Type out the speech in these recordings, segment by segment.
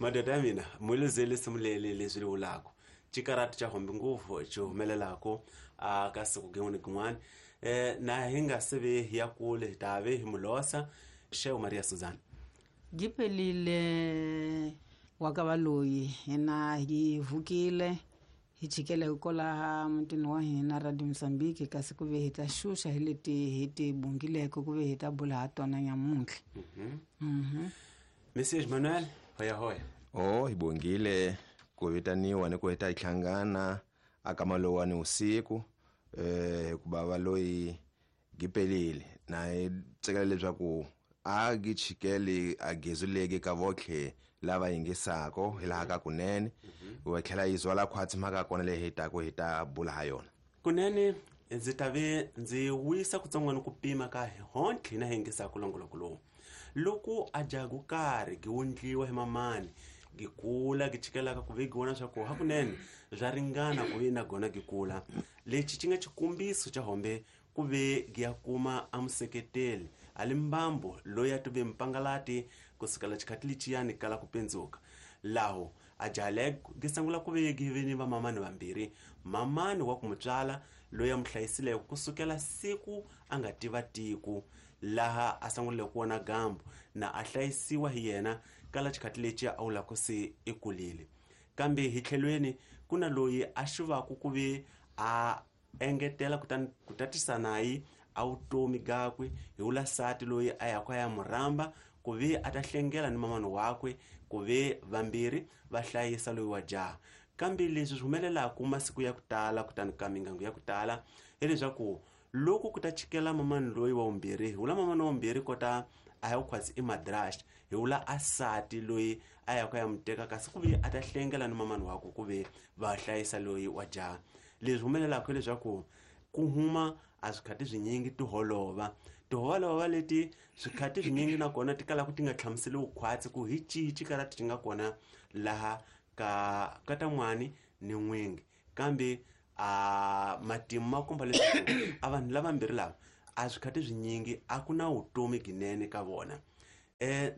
Madoda ya mina, muluzeli simuleli leswi li vulaka xikarati xa hombi ngopfu xi humelelaka a ka siku gin'wana gin'wana. Na hi nga se ve hi ya kule hi ta ve hi mulosa Xewu Maria Suzana. Gipelile wa ka valoyi hina hi vukile hi chikele kolaha mutini wa hina Radio Mozambique, kasi ku ve hi ta xuxa hi leti hi ti bungileke ku ve hi ta bula ha tona nyamuntlha. Messias Manuel, hoya hoya. Oh, hi bongile ku vitaniwa ni ku hi ta hi hlangana aka malowani usiku, hikuva valoyi gipelile na hi tsekela leswaku a gi chikeli a gezuleki ka votlhe lava yingisako hi laha ka kunene, wa tlhela yi zwala khwatsi mhaka kona leyi hi taku hi ta bula ha yona. Kunene ndzi ta ve ndzi wisa kutsongwana ku pima ka hontlhe na yingisako longoloko lowu. Loko a jagu karhi gi wundliwa hi mamani, gi kula gi chikelaka ku ve gi vona swa ku hakunene swa ringana ku ve na gona gi kula. Lexi xi nga xikombiso xa hombe ku ve gi ya kuma a museketeli a li mbambu loyi a tive mpangalati kusukela xikhati lexiyani kala ku pindzuka. Laho a jaha gi sungula ku ve gi ve ni vamamani vambirhi, mamani wa ku mutswala loyi a mu hlayisileke kusukela siku a nga tiva tiko laha a sungulile ku vona gambu na a hlayisiwa hi yena kala xikhati lexi a wula ku se i kulile. Kambe hi tlhelweni ku na loyi a xivaku ku ve a engetela kutani ku tatisa nayi a vutomi gakwe hi wula sati loyi a yaka ya murhamba ku ve a ta hlengela ni mamani wakwe ku ve vambirhi va hlayisa loyi wa jaha. Kambe leswi swi humelelaka masiku ya ku tala kutani ka mingangu ya ku tala hileswaku loko ku ta chikela mamani loyi wa vumbirhi, hi wula mamani wa vumbirhi kota a ya ku khwatsi i madrast, hi wula a sati loyi a yaka ya muteka kasi ku ve a ta hlengela ni mamani wakwe ku ve va hlayisa loyi wa jaha. Leswi humelelaka hileswaku ku huma a swikhati swinyingi tiholova. Tiholova leti swikhati swinyingi nakona ti kalaka ti nga hlamuseliwi khwatsi ku hi cihi xikarati xi nga kona laha ka katan'wani ni n'wingi. Kambe a matimu ma komba leswaku a vanhu lavambirhi lava a swikhati swinyingi a ku na vutomi ginene ka vona.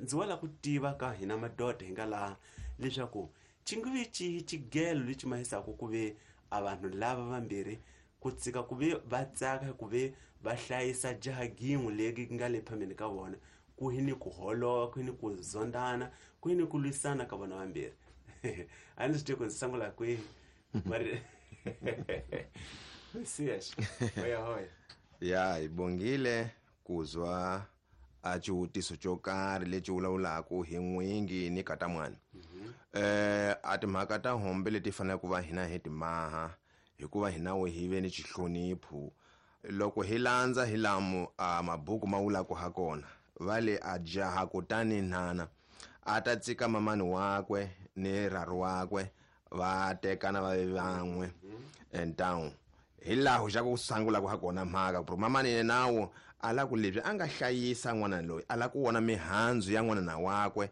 Ndzi wala ku tiva ka hina madoda hi nga laha leswaku xi nge vi xihi xigelo lexi mahisaka ku ve a vanhu lava vambirhi ku tsika ku ve va tsaka ku ve va hlayisa jaha gin'we leri nga le phambeni ka vona, ku hi ni ku holova, ku hi ni ku zondana, ku hi ni ku lwisana ka vona vambirhi. A ni swi tivi ku ndzi sungula kwihi. Mari Mesias, hoya hoya. Ya, hi bongile ku zwa a xivutiso xo karhi lexi vulavulaka hi n'wingi ni katan'wana. A timhaka ta hombe leti faneleke ku va hina hi timaha hikuva hina we hi ve ni xihlonipho. Loko hi landza hi lamu a mabuku ma vulaka ha kona, va le a jaha kutani nhana a ta tsika mamani wakwe ni rharu wakwe va tekana va ve van'we entawu. Hi laha xa ku sungula ku ha kona mhaka ku ri mamani yena wo a la ku leswi a nga hlayisa n'wana loyi a la ku vona mihandzu ya n'wana wakwe,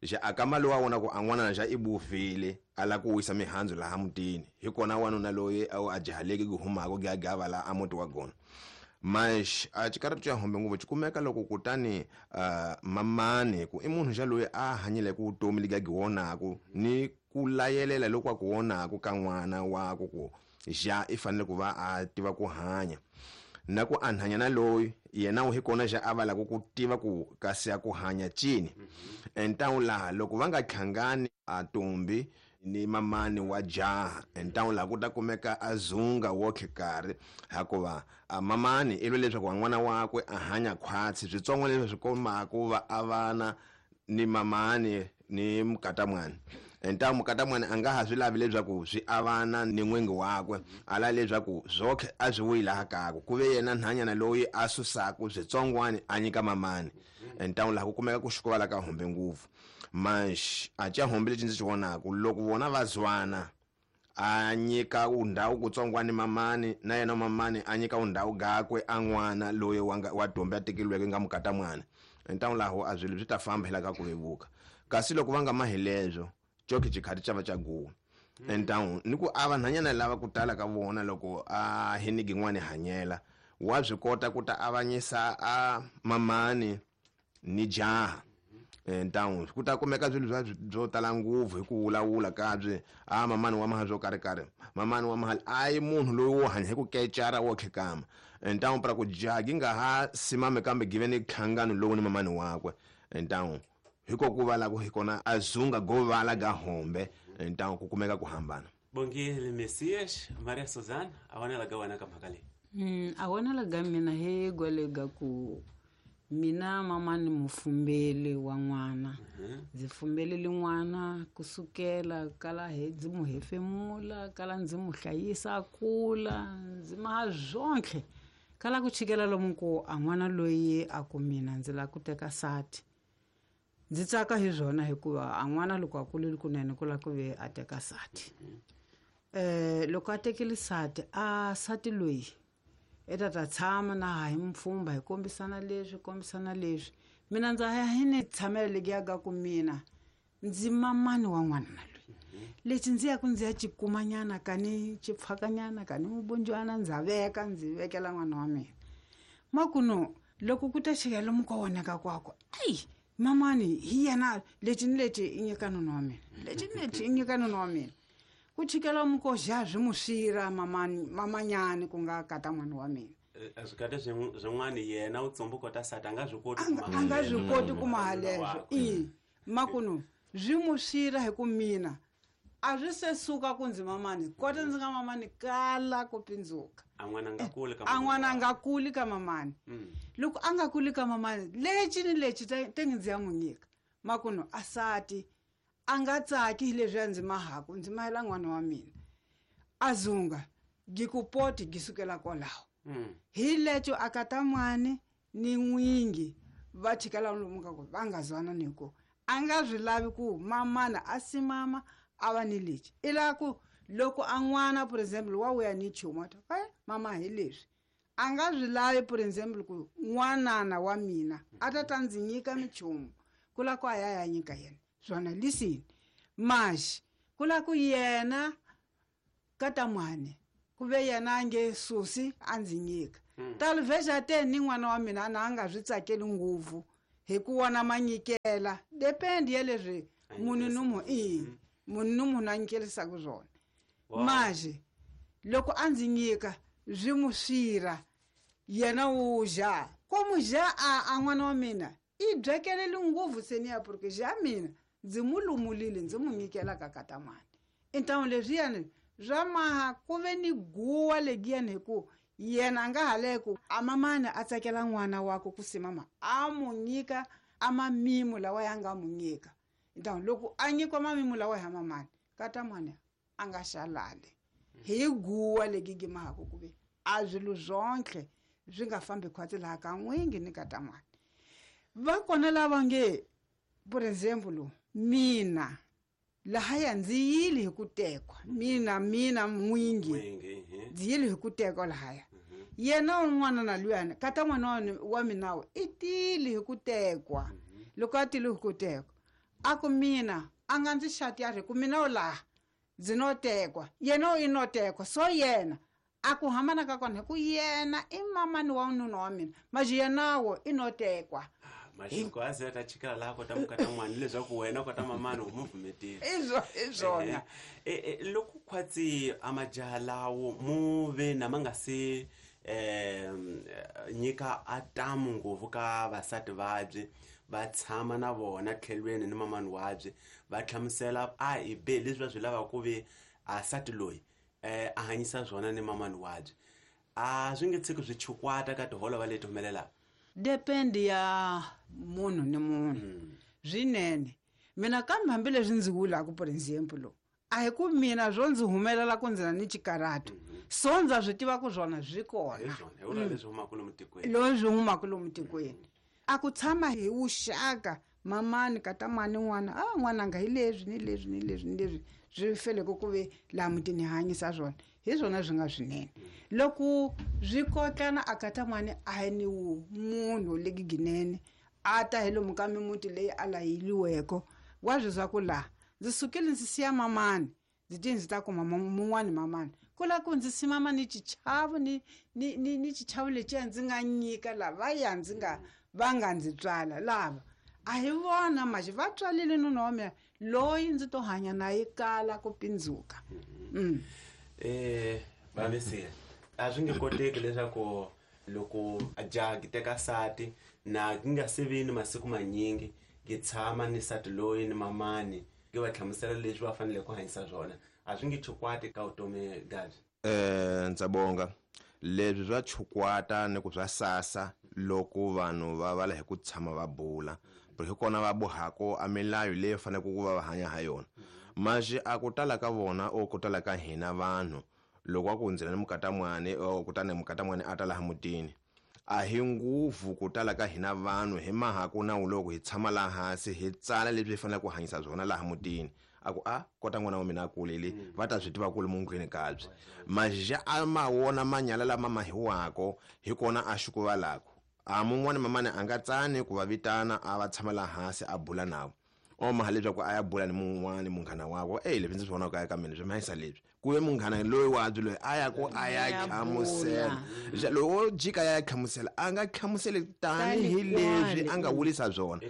xa a kama loyi a vona ku a n'wana xa i buvile a la ku wisa mihandzu laha mutini, hi kona wanuna loyi a jahaleke ku humaka ku ya gava laha a muti wa kona. Mas a xikarati xa hombe ngopfu xi kumeka loko kutani mamani ku i munhu xa loyi a hanyileke vutomi lebyi a byi vonaku ni ku layelela loku a ku vonaku ka n'wana waku ku ja i fanele ku va a tiva ku hanya. Na ku a nhanyana loyi yena hi kona xa a va lava ku tiva ku kasi a ku hanya cini. Entawu laha loko va nga hlangani a ntombi ni mamani wa jaha, entawu laha ku ta kumeka a zunga wotlhe karhi, hikuva a mamani i lwe leswaku n'wana wakwe a hanya khwatsi switsongo leswi swi kombaka ku va a vana ni mamani ni mukatan'wana. Entawu mukatan'wana a nga ha swi lavi leswaku swi avana ni n'wingi wakwe, a lava leswaku swokhe a swi vuyi laha kakwe, ku ve yena nhanyana loyi a susaku switsongwani a nyika mamani. Entawu laha ku kumeka ku xukuvala ka hombe ngopfu. Manxi a xa hombe lexi ndzi xi vonaku loko vona va zwana a nyika undhawu kutsongwani mamani na yena mamani a nyika undhawu gakwe a n'wana loyi wa ntombi a tekeriweke nga mukatan'wana. Entawu laho a swilo swi ta famba hi laha ka ku vevuka. Kasi loko va nga mahi leswo coke xikhati xa va xa guwa. Entawu ni ku a vanhanyana lava ku tala ka vona loko a hinigi n'wana hanyela wa swi kota ku ta avanyisa a mamani ni jaha. Ntawu ku ta kumeka swilo swa byo tala ngopfu hi ku vulavula kabye a mamani wa maha swo karhi mamani wa mahali a yi munhu loyi wo hanya hi ku kecara wo khekama. Ntawu pra ku jagi nga ha simame kambe give ni nhlangano lowu ni mamani wakwe. Ntawu hiko ku vala ku hikona a zunga go vala ga hombe. Ntawu ku kumeka ku hambana. Bongile Messias Maria Suzanne a vonela ga wena ka mhaka leyi. A vonela ga mina hi gwalega ku mina mama ni mufumbeli wa n'wana. Ndzi fumbelele n'wana kusukela kala he ndzi mu hefemula, kala ndzi mu hlayisa a kula, ndzi maha zwonke. Kala ku chikela lomu ku a n'wana loyi a ku mina ndzi lava ku teka sati. Ndzi tsaka hi swona hikuva a n'wana loko a kulile kunene ku lava ku ve a teka sati. Loko a tekile sati, a sati loyi i ta ta tshama na ha hi mpfhumba hi kombisana leswi, kombisana leswi. Mina ndza ya hi ni tshamela leyi ya ka ku mina ndzi mamani wa n'wana loyi. Lexi ndzi ya ku ndzi ya cikumanyana ka ni cipfakanyana ka ni mubunjwana ndza veka ndzi vekela n'wana wa mina. Makuno loko ku ta chika lomu ka wona ka kwakwe, ai mamani hi yena lexi ni lexi i nyika nuna wa mina, lexi ni lexi i nyika nuna wa mina. Ku chikela mukoxa swi mu swira mamani mamanyani ku nga kata n'wana wa mina. Swi kata swin'wana yena u tsumbu kota sati a nga swi koti a nga swi koti ku maha leswo. I makuno swi mu swira hi ku mina a swi se suka ku ndzi mamani kota ndzi nga mamani kala ku pindzuka. A n'wana nga kuli ka a n'wana nga kuli ka mamani. Loko a nga kuli ka mamani lexi ni lexi te ndzi ya n'wi nyika. Makuno a sati a nga tsaki hi leswi a ndzi mahaku ndzi mahela n'wana wa mina. A zunga gikupoti gisukela kwalaho. Hi lecho a kata n'wana ni n'wingi va chikela lomu ka ku va nga zwana ni ku a nga swi lavi ku mamana a simama a va ni lexi. I lava ku loko a n'wana for example wa vuya ni nchumu a ta mama hi leswi. A nga swi lavi for example ku n'wanana wa mina a ta ta ndzi nyika minchumu ku lava ku a ya ya nyika yena. Swona listen maxi ku lava ku yena kata n'wana ku ve yena a nge susi a ndzi nyika. Talvexa te ni n'wana wa mina na a nga swi tsakeli ngopfu hi ku wona manyikela depend ya leswi munhu ni munhu i munhu ni munhu a nyikelisaka swona. Maxi loko a ndzi nyika swi mu swira yena wu ja ko mu ja a n'wana wa mina i byekeleli ngopfu se ni ya porque ja mina ndzi mu lumulile ndzi mu nyikela ka kata n'wana. Intawu leswiyani swa maha ku ve ni guwa legiyani hi ku yena a nga haleku a mamani a tsakela n'wana wakwe ku simama a mu nyika a mamimu lawa ya nga mu nyika. Intawu loko a nyikiwa mamimu lawa ya mamani kata n'wana a nga xalali hi guwa legi gimahaku ku ve a swilo zwonke swi nga fambi khwatsi laha ka n'wingi ni kata n'wana. Va kona lava nge for example mina lahaya ndzi yile hi ku tekwa mina n'wingi ndzi yile hi ku tekwa lahaya. Yena un'wana na luyani kata n'wana wa mina i tile hi ku tekwa. Loko a tile hi ku tekwa a ku mina a nga ndzi xati a ri ku mina u laha ndzi no tekwa yena i no tekwa so yena a ku hambana ka kona hi ku yena i mamani wa nuna wa mina maxi yenawo i no tekwa. Maxiko a ze ta chikela laha kota mukata n'wana leswaku wena kota mamani u mu pfumetile. I swona. Loko khwatsi a majaha lawo mu ve na ma nga se nyika atamu ngopfu ka vasati vabye va tshama na vona tlhelweni ni mamani wabye va hlamusela a hi B leswi va swi lavaka ku ve asati loyi a hanyisa swona ni mamani wabye a swi nge tshiki swi chukwata ka tiholo va leti humelelaka. Depend ya munhu ni munhu. Swinene mina kambe hambileswi ndzi vulaka for example a hi ku mina swo ndzi humelela ku ndzi na ni xikarhato so ndza swi tiva ku swona swi kona leswi humaka lomu tikweni. A ku tshama hi vuxaka mamani kata n'wana n'wana a n'wananga hi leswi ni leswi ni leswi ni leswi swi feleke ku ve laha mutini hanyisa swona hi swona swi nga swinene. Loko swi kotlana a kata n'wana a hi ni munhu legiginene a ta hi lomu ka mimuti leyi a layiliweke wa swi swa ku laha ndzi sukile ndzi siya mamani ndzi ti ndzi ta kuma mun'wani mamani ku lava ku ndzi simama ni xichavo ni xichavo lexiya ndzi nga nyika lavaya ndzi nga va nga ndzi tswala lava A hi vona maxi va tswalile nuna wa mina loyi ndzi to hanya na yi kala ku pindzuka. Vamesiya a swi nge koteki leswaku loko jaha ki teka sati na ki nga se vi ni masiku manyingi ki tshama ni sati loyi ni mamani ki va hlamusela leswi va fanele ku hanyisa swona, a swi nge chukwati ka vutomi gabyi. Ndzabonga leswi swa chukwata ni ku swa sasa loko vanhu va vala hi ku tshama va bula, hi kona va bohako a milayo leyi faneleke ku va va hanya ha yona. Maxi a ku tala ka vona o ku tala ka hina vanhu loko a ku hundzela ni mukatamwani o kutani mukatamwani a ta laha mutini, a hi nguvu ku tala ka hina vanhu hi mahaku nawu loko hi tshama laha hansi hi tsala leswi hi faneleke ku hanyisa swona laha mutini. A ku a kota n'wana wa mina a kulile, va ta swi tiva ku ri mundlwini kabye. Maja a ma wona manyala lama mahiwako hi kona a xukuvalako. A mun'wani mamani a nga tsani ku va vitana a va tshama laha hansi a bula navo. O maha leswaku a ya bula ni mun'wani munghana wakwe, ey leswi ndzi swi vonaka eka mina swi mahisa leswi. Ku ve munghana loyi wa byi loyi a ya ku a ya hlamusela. Loko wo jika ya hlamusela, a nga hlamuseli tanihi leswi a nga wulisa swona.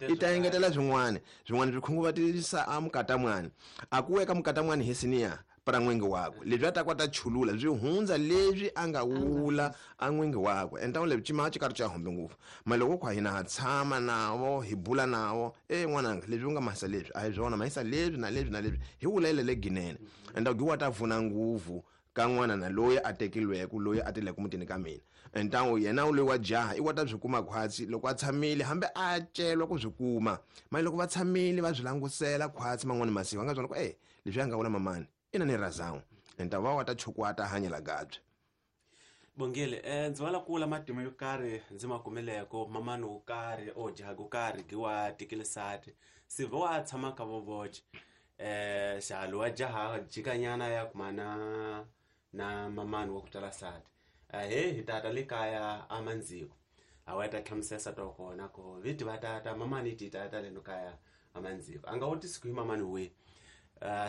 I ta engetela swin'wana. Swin'wana swi khunguvatisa a mukatamwani. A ku eka mukatamwani hi siniya para n'wingi wakwe. Leswi a ta kota chulula swi hundza leswi a nga wula a n'wingi wakwe. Enta leswi cima xi karhi xa hombe ngopfu. Ma loko kwa hina ha tshama navo hi bula navo, n'wananga leswi u nga mahisa leswi a hi swona, mahisa leswi na leswi na leswi hi wulele le ginene. Enta gi wa ta pfuna nguvu ka n'wana na loyi a tekilweke, loyi a tileke mutini ka mina. Enta yena loyi wa jaha i wa ta swi kuma khwatsi loko a tshamile, hambi a celwa ku swi kuma. Ma loko va tshamile va swi langusela khwatsi man'wani masiku, va nga byona ku leswi a nga vula mamani ina ni razangu. Enta va wa ta chukwata hanyela gabye. Bongile, ndzi wala kula matimu yo karhi ndzi ma kumeleko mamani wo karhi o jaha ko karhi gi wa tekile sati sivo wa tshama ka vovoche. Xalo wa jaha jikanyana ya kuma na mamani wa ku tswala sati. He hi tata le kaya a mandziko. A wa ta hlamusela sati wa kona ku viti va tata mamani ti tata le kaya a mandziko. A nga wutisi ku hi mamani we.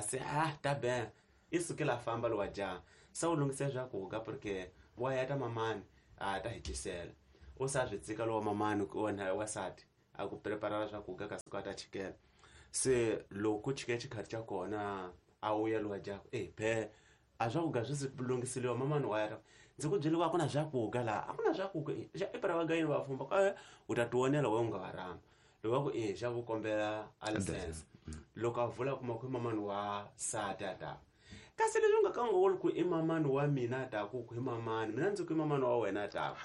Se ta be i sukela famba lo wa jaha. Sa u lunghisa swakudya porque wa ya ta mamani a ta hitlisela. U sa swi tsika lo wa mamani ku wena wa sati a ku prepara swakudya kasi ku ta chikela. Se loko ku chike xikhathi xa kona a wuya lo wa jaha be a swakudya swi se lunghiseliwa mamani wa ya. Ndzi ku byeliwa a ku na swakudya laha, a ku na swakudya. Xa i para va gayini va fumba ka u ta tionela we u nga va rhamba. Loko va ku xa ku kombela a license. Loko a vula kuma ku i mamani wa sati a ta. Kasi leswi u nga ka u nga vuli ku i mamani wa mina a ta ku ku i mamani, mina ndzi ku i mamani wa wena a ta.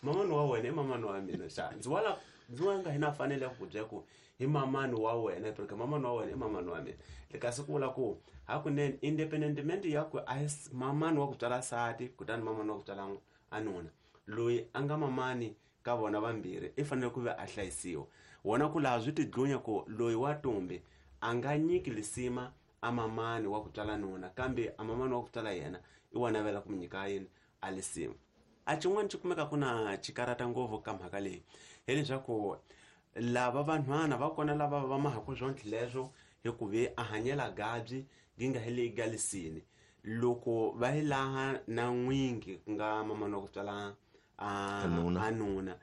Mamani wa wena i mamani wa mina xa. Ndzi wala ndzi wa nga hina fanele ku byela ku i mamani wa wena, porque mamani wa wena i mamani wa mina. Le kasi ku vula ku hakunene independentment ya ku a hi mamani wa ku tswala sati kutani mamani wa ku tswala a nuna. Loyi a nga mamani ka vona vambirhi i fanele ku va a hlayisiwa. Wona ku laha swi tidlunya ku loyi wa tumbi a nga nyiki lisima a mamani wa ku tswala nuna, kambe a mamani wa ku tswala yena i wa navela ku nyika yini a lisima. A xin'wana xi kumeka ku na xikarata ngopfu ka mhaka leyi hileswaku lava vanhwana va kona lava va mahaku swontlhe leswo hi ku ve a hanyela gabyi gi nga heli galisini. Loko va yi laha na n'wingi ku nga mamani wa ku tswala a nuna,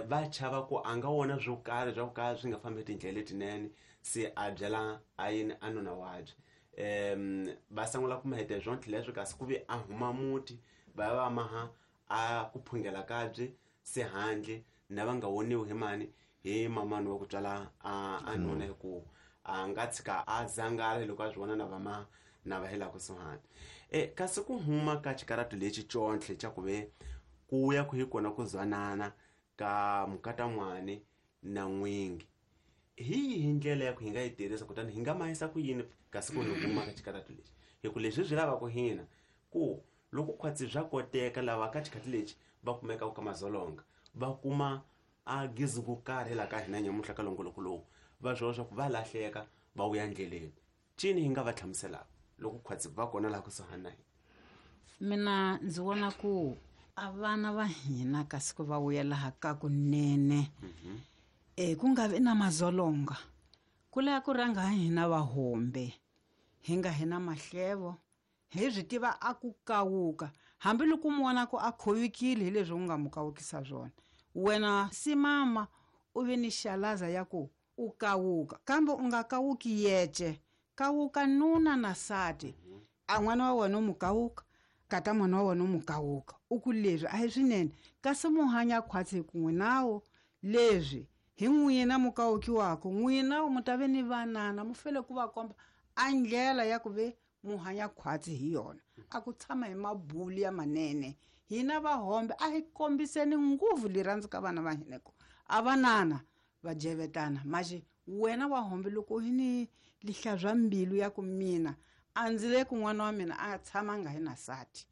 va chava ku a nga wona swo karhi swa ku ka swi nga fambi tindlela letinene, se a byela a yini a nuna wabye. Va sungula ku mahete swontlhe leswo kasi ku ve a huma muti va ya va maha a ku phungela kabye se handle na va nga woniwi hi mani hi mamani wa ku tswala a nuna, hi ku a nga tshika a zangala loko a swi vona na va ma na va hela kusuhani. Kasi ku huma ka xikaratu lexi contlhe xa ku ve ku ya ku hi kona ku zwanana ka mukatamwani na n'wingi, hi yihi ndlela ya ku hi nga yi tirhisa kutani hi nga mahisa ku yini kasi ku ni huma ka xikaratu lexi? Hi ku leswi swi lavaka hina ku loko khwatsi swa koteka lava ka xikhathi lexi va kumeka ka mazolonga va kuma a gizi ku karhi la ka hina nyamuhla ka longoloko lowu va swi vona swa ku va lahleka va vuya ndleleni. Cini hi nga va hlamuselaka loko khwatsi va kona laha kusuhani na hina? Mina ndzi vona ku a vana va hina kasi ku va vuya laha ka kunene. Ku nga vi na mazolonga, ku laya ku rhanga hina va hombe hi nga hina mahlevo hi swi tiva a ku kawuka hambiloko mu vona ku a khovikile hi leswi u nga mu kawukisa swona. Wena si mama u ve ni xalaza ya ku u kawuka, kambe u nga kawuki yece, kawuka nuna na sati. A n'wana wa wena u mu kawuka, kata n'wana wa wena u mu kawuka, u ku leswi a hi swinene, kasi mu hanya khwatsi hi kun'we nawo. Leswi hi n'wina mu kawukiwaka, n'wina mu ta ve ni vanana, mu fele ku va komba a ndlela ya ku ve mu hanya khwatsi hi yona, a ku tshama hi mabulu ya manene. Hina vahombe a hi kombiseni nguvu lirhandzu ka vana va hina ku a vanana va jevetana. Maxi wena wa hombe loko hi ni lihlazwa mbilu ya ku mina a ndzi le ku n'wana wa mina a tshama nga hi na sati,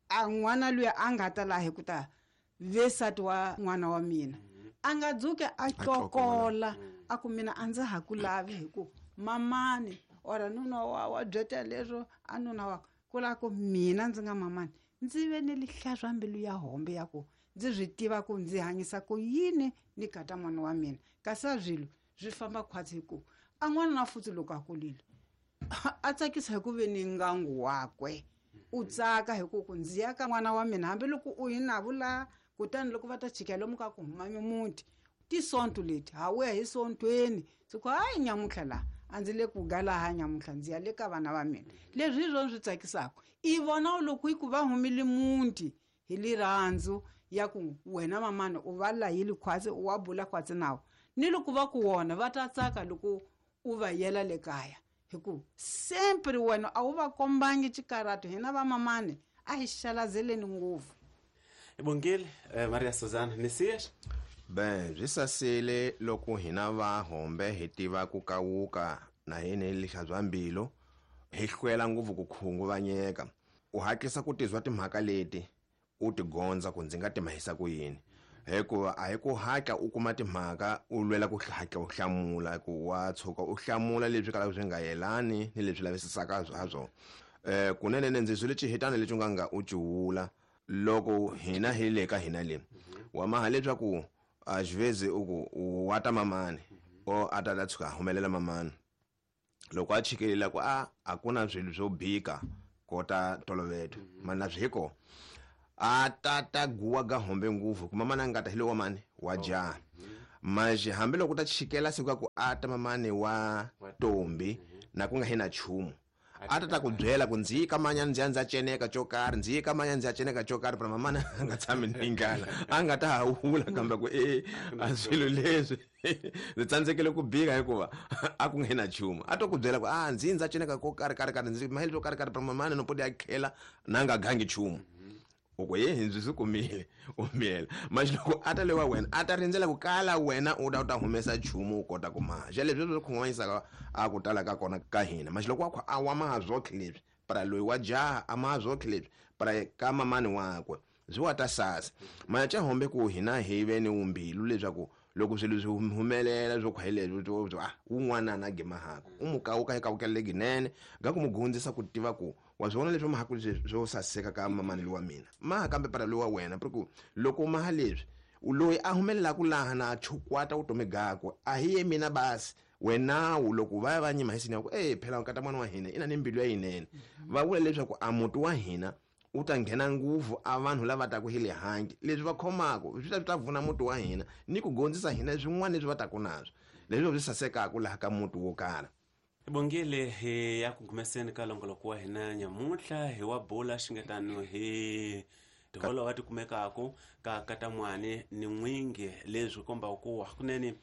a n'wana luya a nga ta laha hi ku ta ve sati wa n'wana wa mina, a nga dzuke a tlokola a ku mina a ndza ha ku lavi hi ku mamani ora nuna wa byeta leswo a nuna wa ku la ku mina ndzi nga mamani ndzi ve ni lihlazwa mbilu ya hombe ya ku ndzi swi tiva ku ndzi hanyisa ku yini ni kata n'wana wa mina. Kasi a swilo swi famba khwatsi hi ku a n'wana na futhi loko a kulile a tsakisa hi ku ve ni ngangu wakwe, u tsaka hi ku ku ndzi ya ka n'wana wa mina hambiloko u yi na vula. Kutani loko va ta chika lomu ka ku huma mimuti tisonto leti ha wuya hi sontweni, siku hayi nyamutlha laha a ndzi le ku galaha nyamutlha ndzi ya le ka vana va mina. Leswi hi swona swi tsakisaka, i vona loko hi ku va humile muti hi lirhandzu ya ku wena mamani u va layile khwatsi, u wa bula khwatsi nawo, ni loko va ku wona va ta tsaka loko u va yela le kaya, hi ku sempre wena a wu va kombangi xikarhato. Hina vamamani a hi xalazeleni ngopfu. Bongile Maria Suzana Messias. Ben byi sasile loko hina va hombe hi tiva ku kawuka na hina lihlazwa mbilu, hi hlwela ngopfu ku khunguvanyeka. U hatlisa ku tizwa timhaka leti u ti gondza ku ndzi nga ti mahisa ku yini, hikuva a hi ku hatla u kuma timhaka u lwela ku hatla u hlamula, ku wa tshuka u hlamula leswi kalaka swi nga yelani ni leswi lavisisaka ha swona. Kunene ndzi swile xihitana lexi u nga nga u ciwula loko hina hi le ka hina le wa maha leswaku a xivezi u ku wa ta mamani o a ta ta tshuka humelela mamani loko a chikelela ku a a ku na swilo swo bika kota toloveto mana swi hiko a ta ta guwa ga hombe nguvu ku mamani a nga ta hi lowa mani wa jaha. Manje hambiloko ta chikela siku ku a ta mamani wa tombi na ku nga hi na chumu, a ta ta ku byela ku ndzi ka manya ndzi ya ndza ceneka xo karhi, ndzi ka manya ndzi ya ceneka xo karhi, pero mamana a nga tshami ni ngala, a nga ta hawula kambe ku a swilo leswi ndzi tsandzekile ku bika hikuva a ku nga na chumu. A to ku byela ku a ndzi ndza ceneka ko karhi karhi karhi, ndzi mahelo swo karhi karhi, pero mamana no podi a khela na nga gangi chumu. U ku ye ndzi swi kumile u miyela. Manje loko a ta lewa wena a ta rindzela ku kala wena u ta u ta humesa chumu u kota ku maha. Xa leswi swi khunguvanyisaka a ku tala ka kona ka hina. Manje loko wa a wa maha zwotlhe leswi, para loyi wa jaha a maha zwotlhe leswi, para ka mamani wakwe byi wa ta sasa. Manje xa hombe ku hina hi ve ni umbilu leswaku loko swilo swi humelela swo khwa hi leswi swo a wun'wana na gimahaka u mu kawuka hi kawukela leginene ga ku mu gondzisa ku tiva ku wa swi vona leswi mahaku leswi swo saseka ka mamani lowa mina maha kambe para lowa wena, ku loko maha leswi loyi a humelelaka laha na chukwata vutomi gakwe a hi ye mina basi wenawu loko va ya va nyima hi sinya ku phela nkata n'wana wa hina ina ni mbilu ya yinene. Va vula leswaku a muti wa hina u ta nghena nguvu a vanhu lava taku hi le handle leswi va khomaka swi ta vuna muti wa hina ni ku gondzisa hina swin'wana leswi va taku naswo leswi swi sasekaka laha ka muti wo karhi. Bongile hi ya ku gumeseni ka longoloko wa hina nyamuntlha hi wa bula xingetano hi tiholo va ti kumekaka ka katamwani ni n'wingi, leswi kombaka ku hakunene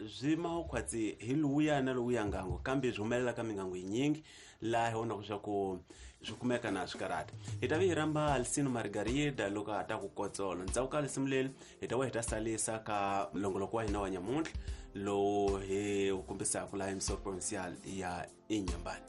swi makhwatsi hi luya na lowuya ngango, kambe swi humelela ka mingango yinyingi laha hi vonaka swa ku swi kumeka na swikarata. Hi ta vi hi rhamba Alcino Margarida loko a ta ku kotsolo ndzhaku ka lisimu leri hi ta va hi ta salisa ka longoloko wa hina wa nyamuntlha lowu hi wu kombisaka laha emisava provincial ya Inhambane.